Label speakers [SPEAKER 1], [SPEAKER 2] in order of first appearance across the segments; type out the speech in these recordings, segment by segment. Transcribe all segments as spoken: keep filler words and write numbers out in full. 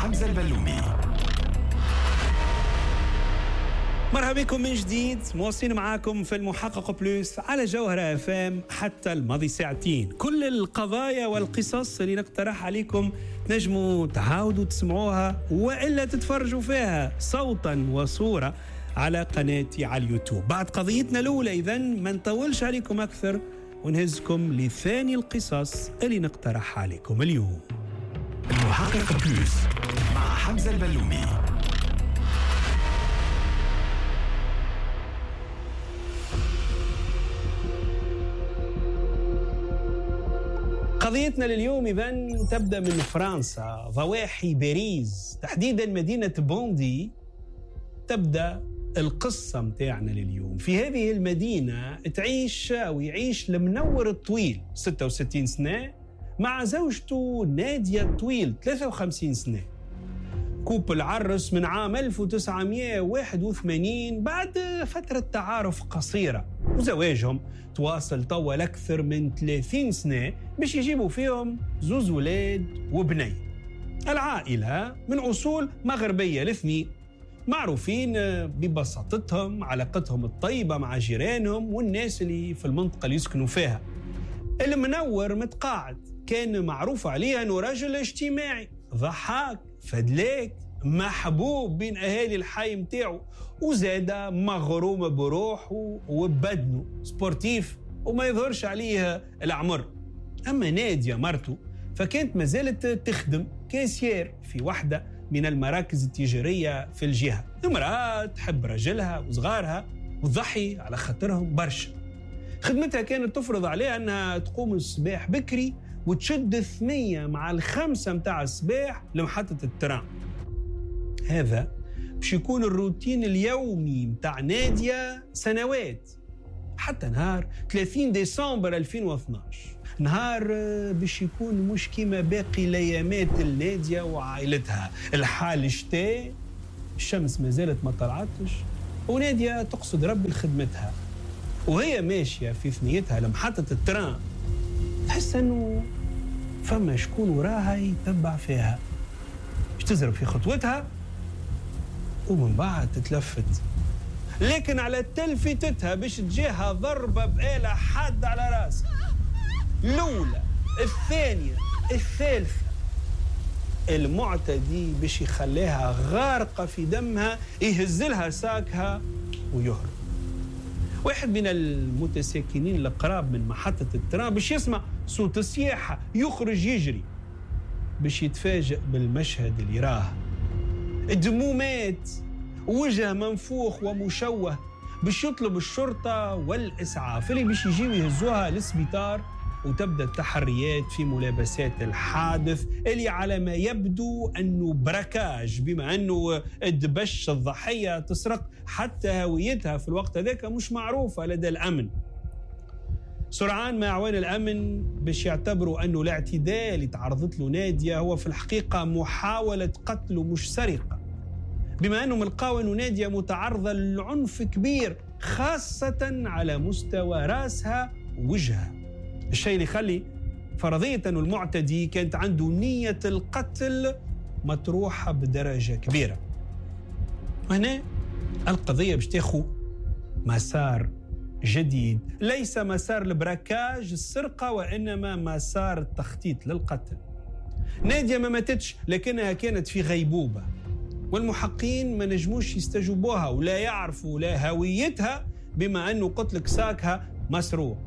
[SPEAKER 1] حمزة البلومي.
[SPEAKER 2] مرحبا بكم من جديد، مواصلين معاكم في المحقق Plus على جوهرة اف ام حتى الماضي ساعتين. كل القضايا والقصص اللي نقترح عليكم تنجموا تعاودوا تسمعوها وإلا تتفرجوا فيها صوتا وصورة على قناتي على اليوتيوب. بعد قضيتنا الأولى إذن ما نطولش عليكم أكثر ونهزكم لثاني القصص اللي نقترح عليكم اليوم.
[SPEAKER 1] المحقق Plus مع حمزة البلومي.
[SPEAKER 2] قضيتنا لليوم إذن تبدأ من فرنسا، ضواحي باريس، تحديدا مدينة بوندي. تبدأ القصة متاعنا لليوم. في هذه المدينة تعيش أو يعيش المنور الطويل ستة وستين سنة مع زوجته نادية الطويل ثلاثة وخمسين سنة. couple عرس من عام ألف وتسعمائة وواحد وثمانين بعد فترة تعارف قصيرة، وزواجهم تواصل طول أكثر من ثلاثين سنة باش يجيبوا فيهم زوز ولاد وبني. العائلة من أصول مغربية الاثنين، معروفين ببساطتهم، علاقتهم الطيبة مع جيرانهم والناس اللي في المنطقة اللي يسكنوا فيها. المنور متقاعد، كان معروف عليه أنه رجل اجتماعي ضحاك فدلاك محبوب بين أهالي الحي متاعه، وزاد مغروم بروحه وبدنه، sportif وما يظهرش عليه العمر. أما نادية مرته فكانت ما زالت تخدم caissière في واحدة من المراكز التجارية في الجهة. امرأة تحب رجلها وصغارها وتضحي على خاطرهم برشا. خدمتها كانت تفرض عليها أنها تقوم الصباح بكري وتشد الثنية مع الخمسة متاع الصباح لمحطة ال train. هذا باش يكون الروتين اليومي متاع نادية سنوات، حتى نهار ثلاثين ديسمبر ألفين واثناش، نهار باش يكون مش كيما باقي الايامات النادية وعائلتها. الحال شتاء، الشمس ما زالت ما طلعتش، ونادية تقصد ربي لخدمتها. وهي ماشية في ثنيتها لمحطة ال train تحس انه فما شكون وراها يتبع فيها، باش تزرب في خطوتها ومن بعد تتلفت، لكن على تلفتتها باش تجيها ضربة بآلة حادة على راسها. الأولى، الثانية، الثالثة. المعتدي باش يخليها غارقة في دمها، يهزلها ساكها ويهرب. واحد من المتساكنين القراب من محطة ال train باش يسمع صوت السياحة يخرج يجري باش يتفاجئ بالمشهد اللي راه. الدمومات، وجه منفوخ ومشوه، باش يطلب الشرطة والإسعاف اللي باش يجيو يهزوها للسبيطار، وتبدأ التحريات في ملابسات الحادث اللي على ما يبدو أنه braquage، بما أنه دبش الضحية تسرق، حتى هويتها في الوقت هذاك مش معروفة لدى الأمن. سرعان ما أعوان الأمن باش يعتبروا أنه الاعتداء اللي تعرضت له نادية هو في الحقيقة محاولة قتل ومش سرقة، بما أنهم لقاو أنه نادية متعرضة لعنف كبير خاصة على مستوى رأسها ووجهها، الشيء اللي يخلي فرضية أنه المعتدي كانت عنده نية القتل مطروحة بدرجة كبيرة. وهنا القضية باش تاخو مسار جديد، ليس مسار البراكاج السرقة، وإنما مسار التخطيط للقتل. نادية ما ماتتش، لكنها كانت في غيبوبة، والمحقين ما نجموش يستجوبوها ولا يعرفوا لا هويتها، بما أنه قتلك ساكها مسروق.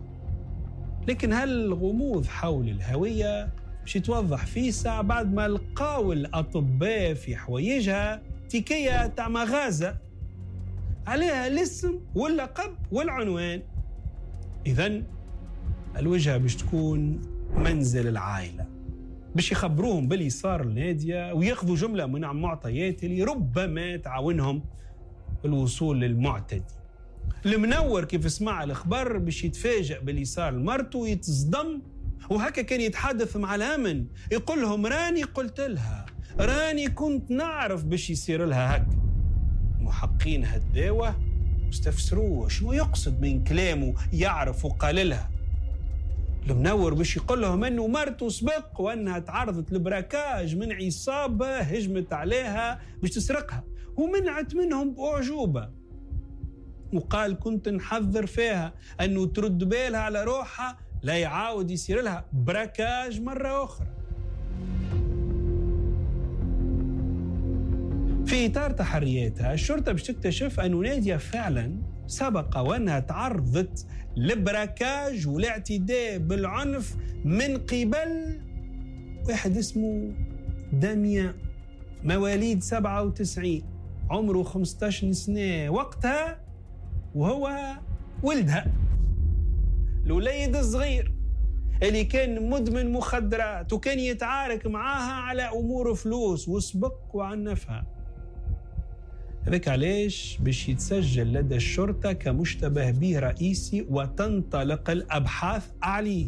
[SPEAKER 2] لكن هل الغموض حول الهوية باش يتوضح في ساعة بعد ما لقاو الأطباء في حوايجها تيكية تاع مغازة عليها الاسم واللقب والعنوان؟ إذن الوجهة باش تكون منزل العائلة، باش يخبروهم باللي صار لنادية وياخذوا جملة من معطيات اللي ربما تعاونهم الوصول للمعتدي. المنور كيف سمع الخبر باش يتفاجأ باللي صار لمرته ويتصدم، وهكا كان يتحدث مع الأمن يقول لهم راني قلت لها، راني كنت نعرف باش يصير لها هكا. محقين هداوه واستفسروه شنو يقصد من كلامه، يعرف وقال لها. المنور باش يقول لهم انه مرته سبق وانها تعرضت ل braquage من عصابة هجمت عليها باش تسرقها ومنعت منهم باعجوبه، وقال كنت نحذر فيها انه ترد بالها على روحها لا يعاود يصير لها braquage مرة اخرى. في اطار تحرياتها الشرطة باش تكتشف انه ناديه فعلا سبق وانها تعرضت ل braquage والاعتداء بالعنف من قبل واحد اسمه داميان، مواليد سبعة وتسعين، عمره خمسة عشر سنة وقتها، وهو ولدها الوليد الصغير اللي كان مدمن مخدرات وكان يتعارك معاها على أمور فلوس وسبق وعنفها. هذاك علاش باش يتسجل لدى الشرطة كمشتبه به رئيسي وتنطلق الأبحاث عليه.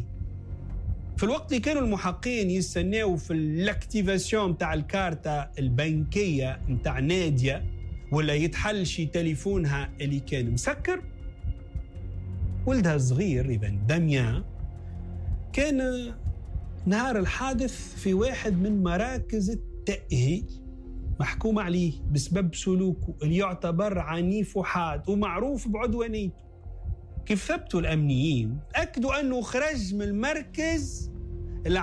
[SPEAKER 2] في الوقت اللي كانوا المحققين يستناو في ال activation تاع الكارتة البنكية نتاع نادية ولا يتحل شي تليفونها اللي كان مسكر، ولدها الصغير إذا داميان كان نهار الحادث في واحد من مراكز التأهيل محكوم عليه بسبب سلوكه اللي يعتبر عنيف وحاد ومعروف بعدوانيته. كيف ثبتوا الأمنيين أكدوا أنه خرج من المركز